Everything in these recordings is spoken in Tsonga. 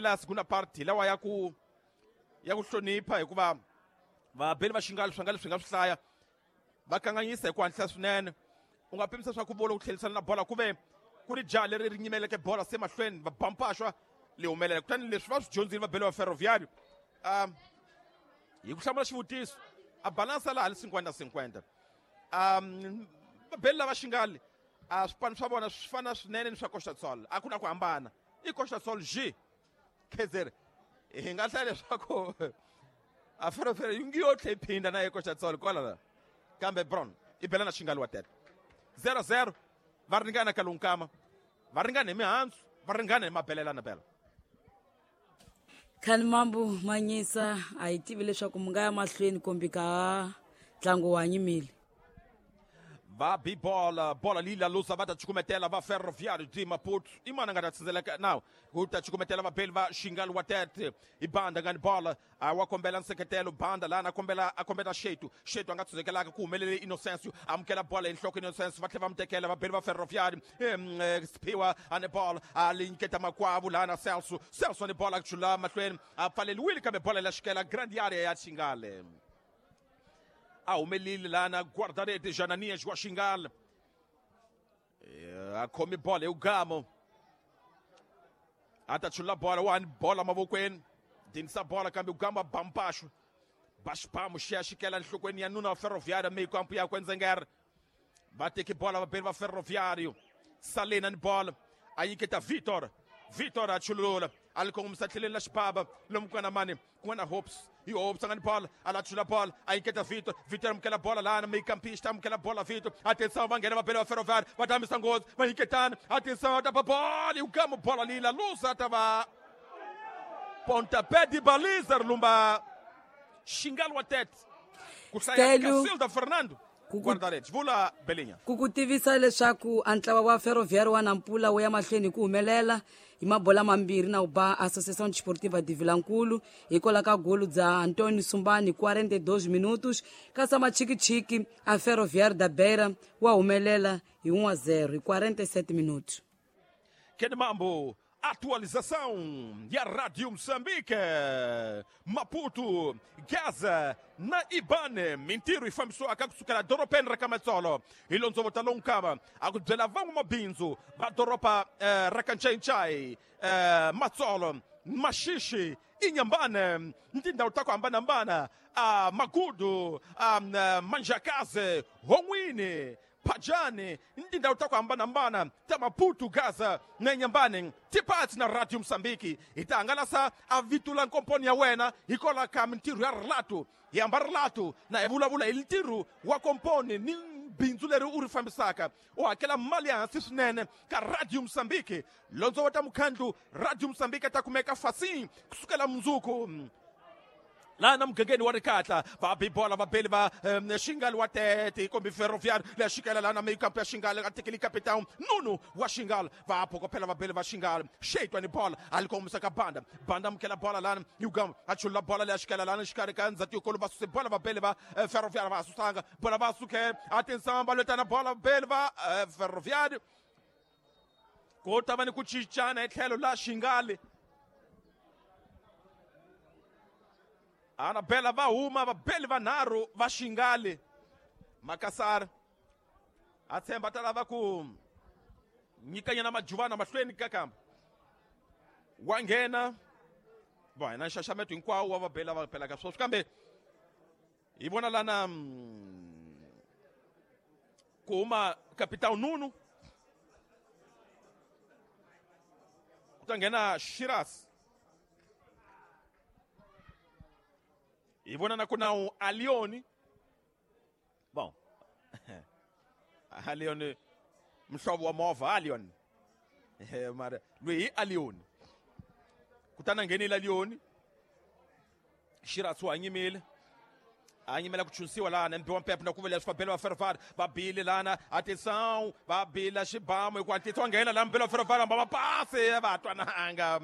la segunda part hi lawa ya ku hlonipha hikuva vabeli va Xingali swi nga leswi nga swi hlaya va kanganyisa hi ku hatlisa swinene. U nga pimisa swa ku volo ku tlhelisana na bola ku ve ku ri jaha leri ri nyimeleke bola se mahlweni va bampaxwa li humelela. Kutani leswi va swi dyondzile vabeli va Ferroviário hi ku hlamula xivutiso a balansa laha li 50-50. Vabeli lava Xingali a swipano swa vona swi fana swinene ni swa Costa do Sol, a ku na ku hambana. I Costa do Sol G Khezeri hi nga hlaya leswaku a Ferroviário yi ngi yo tlhe yi phinda na Costa do Sol kwala la, kambe Brown i bela na Xingali wa tete 0-0 va ringana ka lonkama, va ringana hi mihandzu, va ringana hi mabelelana bela. Khani mambu manyisa a hi tivi leswaku mi nga ya mahlweni kumbe ka ntlangu wa nyimile. Va bi bola, bola lila lusa va ta cukumetela va Ferroviário de Maputo. I mana nga ta tsindzeleka nawu ku ta cukumetela vabeli va Xingali wa tete i banda nga ni bola a wa kombela nseketelo banda lana a kombela Shetu. Shetu a nga tsundzekelaka ku humelele Inocencio amukela bola hi nhloko Inocencio va tlhela va mu tekela vabeli va Ferroviário. Siphiwa a ni bola a li nyiketa makwavu lana Celso. Celso a ni bola a chula mahlweni a pfaleliwile kambe bola la xikela grand area ya Xingali. A humelile lana guarda-rede Jananias wa Xingali. A khomi bola hi ugamo. A ta chula bola wa ni bola mavokweni. Dinisa bola kambe ugamo a bampaxo. Baxpamu xi ya xikela nhlokweni ya nuna wa Ferroviário meyi kampu yakwe Ndzengere. Va teki bola vabeli va Ferroviário. Salena ni bola a nyiketa Vitor. Vitor a chulula a li kongomisa tlheleni la xibaba lomu ku nga na mani ku nga na Hopes. Hi Hopes a nga ni bola a la chula bola a nyiketa Vitor. Vitor amukela bola lana meikampista amukela bola Vitor. Atenção va nghena vabeli va Ferroviário va ta hambisa nghozi va nyiketana. Atenção va ta ba bola hi gamo bola lila lusa ta va pontapé de baliza ri lumba Xingali wa tete ku hlaya Casilda Fernando guarda-redes vula Belinha. Ku ku tivisa leswaku a ntlawa wa Ferroviário wa Nampula wu ya mahlweni hi ku humelela hi mabola mambirhi na ku ba Associação Desportiva de Vilankulu hikwalaho ka golu bya Antonio Sumbani 42 minutos, kasi Machikichiki a Ferroviário da Beira wa humelela hi 1-0 hi 47 minutos. Kene Mambo, atualização ya Radio Moçambique, Maputo, Gaza na Ibane, mintirho yi fambisiwaka kusukela dorobeni ra ka Matsolo hi londzovota lonkama a ku byela van'wamabindzu va doroba ra ka Ncayincai, Matsolo, Maxixi, Inhambane, tindhawu ta ku hambanahambana, Magudu, Manjakaze, Hon'wini, Pajani, tindhawu ta ku hambanahambana ta Maputo, Gaza na Inhambane. Tipatsi na Radio Moçambique hi ta hangalasa a vito la nkomponi ya wena hikwalaho ka mintirho ya rilato. Hi hamba rilato na hi vulavula hi ntirho wa komponi ni bindzu leri u ri fambisaka. U hakela mali ya hansi swinene ka Radio Moçambique. Londzovota mukhandlu Radio Moçambique ta kumeka fasini kusukela mundzuku laha na mugangeni wa Rikatla. Va bi bola vabeli va Xingali wa tete kombi Ferroviário leya xikela laha na meyikampu ya Xingali a tekeli capitão Nunu wa Xingali. Va phokopela vabeli va Xingali. Xeitwa ni bola a li kongomisa ka Banda. Banda amukela bola lana Yugam a chulula bola leya xikela lana xikarhi ka ndzhati yikulu va suse bola vabeli va Ferroviário va susanga bola va suke. Atenção va lwetana bola vabeli va Ferroviário. Ku ta va ni ku cincana hi tlhelo la Xingali. Anabela va huma vabeli vanharhu va Xingali. Makassar a tshemba ta lava ku nyikanyana majuvana mahlweni ka kamba wa nghena. Va hina nxaxameto hinkwawo wa vabeli lava pelaka sweswi, kambe hi vona lana ku huma Capitão Nuno ku ta nghena Shiraz. Hi vona na ku na Alioni. Bom, Alioni mhlovo wa movha Alioni. Mara loyi hi Alioni. Kutani a nghenile Alioni. Shiraz wa nyimile. A nyimela ku chunsiwa lana mbiwa mpepo na ku vela swifambelo va Ferroviário va bile lana. Atenção va bila xibamu hi ku hatlisa wa nghena lana mbelo wa Ferroviário va pasi va twananga.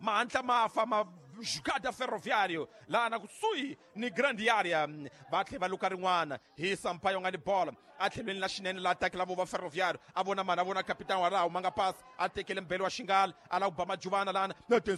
Mahatla ma fa ma jugada Ferroviário lana kusuhi ni grande area. Va tlhela va luka rin'wana hi Sampaio nga ni bola a tlhelweni la xinene la attack lavo va Ferroviário. A vona mani, a vona capitão wa raho ma nga pasi a tekele mbelo wa Xingali a lava ku ba majuvana lana.